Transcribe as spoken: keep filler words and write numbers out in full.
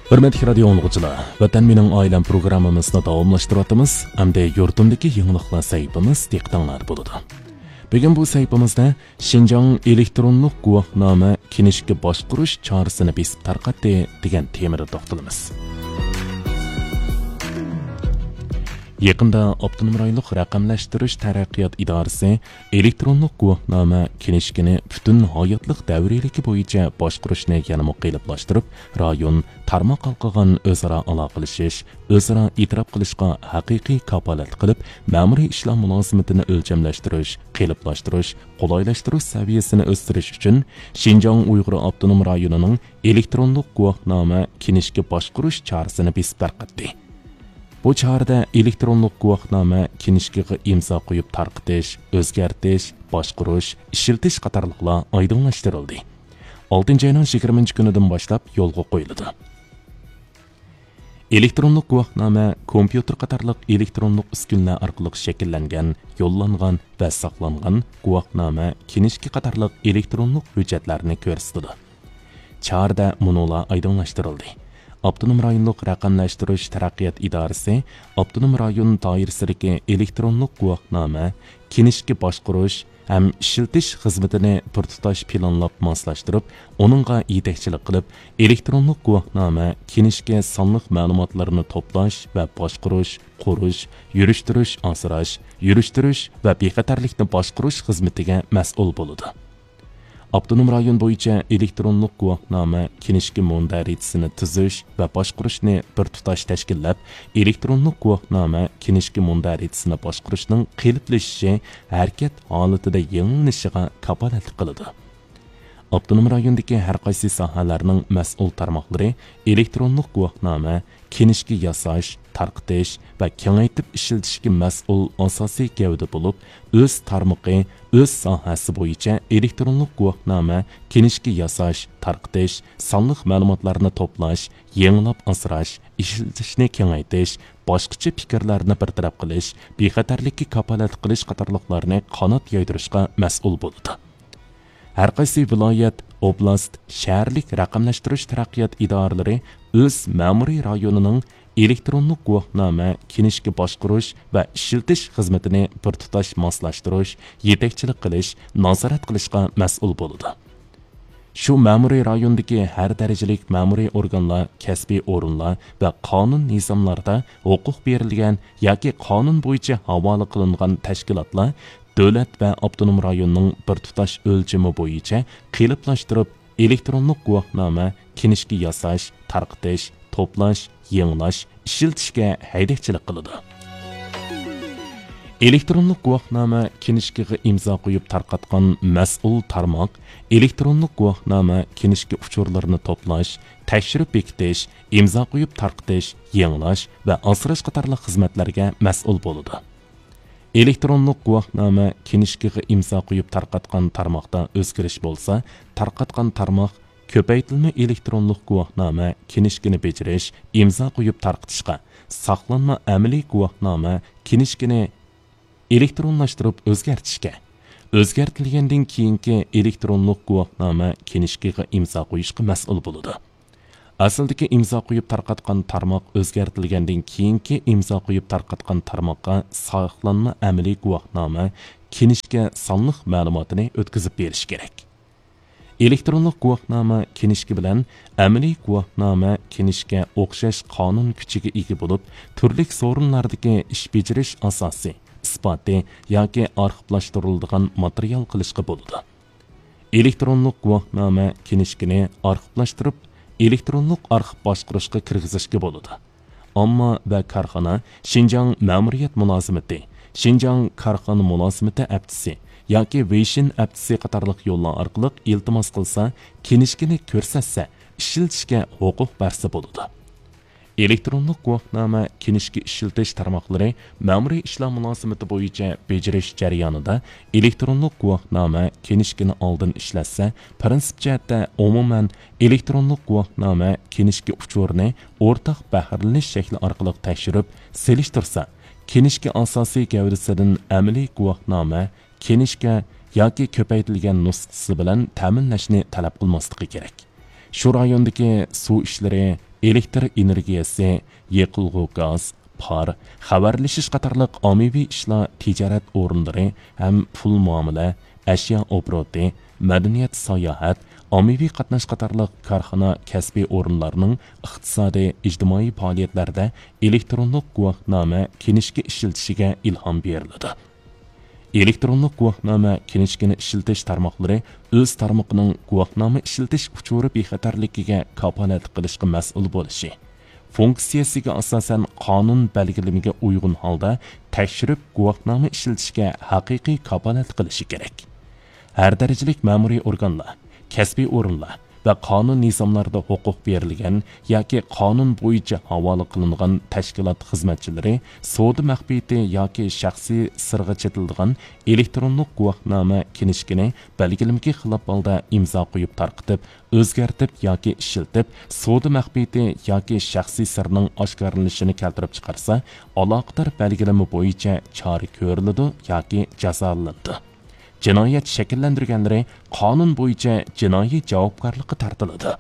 ھۆرمەتلىك رادىيو ئاڭلىغۇچىلار، ۋەتەن مېنىڭ ئائىلەم پروگراممىمىزنى داۋاملاشتۇرۇۋاتىمىز. ئەمدى يۇرتۇمدىكى يېڭىلىقلار سەھىپىمىز دىققىتىڭلاردا بولىدۇ. بۈگۈن بۇ سەھىپىمىزدە شىنجاڭ ئېلېكترونلۇق گۇۋاھنامە كىنىشكا باشقۇرۇش چارىسىنى بېسىپ تارقاتتى دېگەن تېمىدا توختىلىمىز. يېقىندا ئاپتونوم رايونلۇق رەقەملەشتۈرۈش تەرەققىيات ئىدارىسى ئېلېكترونلۇق گۇۋاھنامە كىنىشكىنى پۈتۈن ھاياتلىق دەۋرىيلىكى بويىچە باشقۇرۇشنى يەنىمۇ قېلىپلاشتۇرۇپ، رايون، تارماق ھالقىغان ئۆزئارا ئالاقىلىشىش، ئۆزئارا ئېتىراپ قىلىشقا ھەقىقىي كاپالەتلىك قىلىپ، مەمۇرىي ئىشلار مۇلازىمىتىنى ئۆلچەملەشتۈرۈش، قېلىپلاشتۇرۇش، قولايلاشتۇرۇش سەۋىيەسىنى ئۆستۈرۈش ئۈچۈن شىنجاڭ ئۇيغۇر ئاپتونوم رايونىنىڭ ئېلېكترونلۇق گۇۋاھنامە كىنىشكا باشقۇرۇش چارىسىنى بېسىپ تارقاتتى. بۇ چارىدە ئېلېكترونلۇق گۇۋاھنامە كىنىشكىغا ئىمزا قويۇپ تارقىتىش، ئۆزگەرتىش، باشقۇرۇش، ئىشلىتىش قاتارلىقلار ئايدىڭلاشتۇرۇلدى. ئالتىنچى ئاينىڭ يىگىرمىنچى كۈنىدىن باشلاپ يولغا قويۇلىدۇ. ئېلېكترونلۇق گۇۋاھنامە كومپيۇتېر قاتارلىق ئېلېكترونلۇق ئۈسكۈنىلەر ئارقىلىق شەكىللەنگەن، يوللانغان ۋە ساقلانغان گۇۋاھنامە، كىنىشكا قاتارلىق ئېلېكترونلۇق ھۆججەتلەرنى كۆرسىتىدۇ. چارىدە مۇنۇلار ئايدىڭلاشتۇرۇلدى. ئاپتونوم رايونلۇق رەقەملەشتۈرۈش تەرەققىيات ئىدارىسى ئاپتونوم رايون دائىرىسىدىكى ئېلېكترونلۇق گۇۋاھنامە، كىنىشكا باشقۇرۇش ھەم ئىشلىتىش خىزمىتىنى بىر تۇتاش پىلانلاپ ماسلاشتۇرۇپ، ئۇنىڭغا يېتەكچىلىك قىلىپ، ئېلېكترونلۇق گۇۋاھنامە، كىنىشكا سانلىق مەلۇماتلىرىنى توپلاش ۋە باشقۇرۇش، قۇرۇش، يۈرۈشتۈرۈش، ئاسراش، يۈرۈشتۈرۈش ۋە بىخەتەرلىكنى باشقۇرۇش خىزمىتىگە مەسئۇل بولىدۇ. ئاپتونوم رايون بويىچە ئېلېكترونلۇق گۇۋاھنامە كىنىشكا مۇندەرىجىسىنى تۈزۈش ۋە باشقۇرۇشنى بىر تۇتاش تەشكىللەپ، ئېلېكترونلۇق گۇۋاھنامە كىنىشكا مۇندەرىجىسىنى باشقۇرۇشنىڭ قېلىپلىشىشى، ھەرىكەت ھالىتىدە يېڭىلىنىشىغا كاپالەتلىك قىلىدۇ. ئاپتونوم رايوندىكى ھەر قايسى ساھەلەرنىڭ مەسئۇل تارماقلىرى ئېلېكترونلۇق گۇۋاھنامە، كىنىشكا ياساش، تارقىتىش ۋە كېڭەيتىپ ئىشلىتىشكە مەسئۇل ئاساسىي گەۋدە بولۇپ، ئۆز تارمىقى، ئۆز ساھەسى بويىچە ئېلېكترونلۇق گۇۋاھنامە، كىنىشكا ياساش، تارقىتىش، سانلىق مەلۇماتلارنى توپلاش، يېڭىلاپ ئاسراش، ئىشلىتىشنى كېڭەيتىش، باشقىچە پىكىرلەرنى بىر تەرەپ قىلىش، بىخەتەرلىككە كاپالەتلىك قىلىش قاتارلىقلارنى قانات يايدۇرۇشقا مەسئۇل بولىدۇ. ھەر قايسى ۋىلايەت، ئوبلاست، شەھەرلىك رەقەملەشتۈرۈش تەرەققىيات ئىدارىلىرى ئۆز مەمۇرىي رايونىنىڭ ئېلېكترونلۇق گۇۋاھنامە، كىنىشكا باشقۇرۇش ۋە ئىشلىتىش خىزمىتىنى بىر تۇتاش ماسلاشتۇرۇش، يېتەكچىلىك قىلىش، نازارەت قىلىشقا مەسئۇل بولىدۇ. شۇ مەمۇرىي رايوندىكى ھەر دەرىجىلىك مەمۇرىي ئورگانلار، كەسپىي ئورۇنلار ۋە قانۇن نىزاملاردا ھوقۇق بېرىلگەن ياكى قانۇن بويىچە ھاۋالە قىلىنغان تەشكىلاتلار دۆلەت ۋە ئاپتونوم رايوننىڭ بىر تۇتاش ئۆلچىمى بويىچە قېلىپلاشتۇرۇپ، ئېلېكترونلۇق گۇۋاھنامە، كىنىشكا ياساش، تارقىتىش، توپلاش، يېڭىلاش، ئىشلىتىشكە ھەيدەكچىلىك قىلىدۇ. ئېلېكترونلۇق گۇۋاھنامە، كىنىشكىغا ئىمزا قويۇپ تارقاتقان مەسئۇل تارماق ئېلېكترونلۇق گۇۋاھنامە، كىنىشكا ئۇچۇرلىرىنى توپلاش، تەكشۈرۈپ بېكىتىش، ئىمزا قويۇپ تارقىتىش، يېڭىلاش ۋە ئاسراش قاتارلىق خىزمەتلەرگە مەسئۇل بولىدۇ. ئېلېكترونلۇق گۇۋاھنامە، كىنىشكىغا ئىمزا قويۇپ تارقاتقان تارماقتا ئۆزگىرىش بولسا، تارقاتقان تارماق كۆپەيتىلمە ئېلېكترونلۇق گۇۋاھنامە، كىنىشكىنى بېجىرىش، ئىمزا قويۇپ تارقىتىشقا، ساقلانما ئەمەلىي گۇۋاھنامە، كىنىشكىنى ئېلېكترونلاشتۇرۇپ ئۆزگەرتىشكە، ئۆزگەرتىلگەندىن كېيىنكى ئېلېكترونلۇق گۇۋاھنامە، كىنىشكىغا ئىمزا قويۇشقا مەسئۇل بولىدۇ. ئەسلىدىكى ئىمزا قويۇپ تارقاتقان تارماق ئۆزگەرتىلگەندىن كېيىنكى ئىمزا قويۇپ تارقاتقان تارماققا ساقلانما ئەمەلىي گۇۋاھنامە، كىنىشكا سانلىق مەلۇماتىنى ئۆتكۈزۈپ بېرىش كېرەك. ئېلېكترونلۇق گۇۋاھنامە، كىنىشكا بىلەن ئەمەلىي گۇۋاھنامە، كىنىشكا ئوخشاش قانۇن كۈچىگە ئىگە بولۇپ، تۈرلۈك سورۇنلاردىكى ئىش بېجىرىش ئاساسى، ئىسپاتى ياكى ئارخىپلاشتۇرۇلىدىغان ماتېرىيال قىلىشقا بولىدۇ. ئېلېكترونلۇق گۇۋاھنامە، كىنىشكىنى ئارخىپلاشتۇرۇپ، ئېلېكترونلۇق ئارخىپ باشقۇرۇشقا كىرگۈزۈشكە بولىدۇ. ئامما ۋە كارخانا شىنجاڭ مەمۇرىيەت مۇلازىمىتى، شىنجاڭ كارخانا مۇلازىمىتى ھەپتىسى ياكى ۋېيشىن ھەپتىسى قاتارلىق يوللار ئارقىلىق ئىلتىماس قىلسا، كىنىشكىنى كۆرسەتسە، ئىشلىتىشكە ھوقۇق بەرسە بولىدۇ. ئېلېكترونلۇق گۇۋاھنامە، كىنىشكا ئىشلىتىش تارماقلىرى مەمۇرىي ئىشلار مۇلازىمىتى بويىچە بېجىرىش جەريانىدا ئېلېكترونلۇق گۇۋاھنامە، كىنىشكىنى ئالدىن ئىشلەتسە، پىرىنسىپ جەھەتتە ئومۇمەن ئېلېكترونلۇق گۇۋاھنامە، كىنىشكا ئۇچۇرىنى ئورتاق بەھرىلىنىش شەكلى ئارقىلىق تەكشۈرۈپ سېلىشتۇرسا، كىنىشكا ئاساسىي گەۋدىسىدىن ئەمەلىي گۇۋاھنامە، كىنىشكا ياكى كۆپەيتىلگەن نۇسخىسى بىلەن تەمىنلەشنى تەلەپ قىلماسلىقى كېرەك. شۇ رايوندىكى سۇ ئىشلىرى، ئېلېكتر ئېنېرگىيەسى، يېقىلغۇ گاز، پار، خەۋەرلىشىش قاتارلىق ئاممىۋى ئىشلار، تىجارەت ئورۇنلىرى ھەم پۇل مۇئامىلە، ئەشيا ئوبوروتى، مەدەنىيەت، ساياھەت، ئاممىۋى قاتناش قاتارلىق كارخانا، كەسپىي ئورۇنلارنىڭ ئىقتىسادىي، ئىجتىمائىي پائالىيەتلەردە ئېلېكترونلۇق گۇۋاھنامە، كىنىشكا ئىشلىتىشىگە ئىلھام بېرىلىدۇ. ئېلېكترونلۇق گۇۋاھنامە، كىنىشكىنى ئىشلىتىش تارماقلىرى ئۆز تارمىقىنىڭ گۇۋاھنامە ئىشلىتىش ئۇچۇرى بىخەتەرلىكىگە كاپالەتلىك قىلىشقا مەسئۇل بولۇشى، فۇنكسىيەسىگە ئاساسەن قانۇن بەلگىلىمىگە ئۇيغۇن ھالدا تەكشۈرۈپ گۇۋاھنامە ئىشلىتىشكە ھەقىقىي كاپالەتلىك قىلىشى كېرەك. ھەر دەرىجىلىك مەمۇرىي ئورگانلار، كەسپىي ئورۇنلار ۋە قانۇن نىزاملاردا ھوقۇق بېرىلگەن ياكى قانۇن بويىچە ھاۋالە قىلىنغان تەشكىلات خىزمەتچىلىرى سودا مەخپىيىتى ياكى شەخسىي سىرغا چېتىلىدىغان ئېلېكترونلۇق گۇۋاھنامە، كىنىشكىنى بەلگىلىمىگە خىلاپ ھالدا ئىمزا قويۇپ تارقىتىپ، ئۆزگەرتىپ ياكى ئىشلىتىپ، سودا مەخپىيىتى ياكى شەخسىي سىرنىڭ ئاشكارىلىنىشىنى كەلتۈرۈپ چىقارسا، ئالاقىدار بەلگىلىمە بويىچە چارە كۆرۈلىدۇ ياكى جازالىنىدۇ. جىنايەت شەكىللەندۈرگەنلىرى قانۇن بويىچە جىنايى جاۋابكارلىققا تارتىلىدۇ.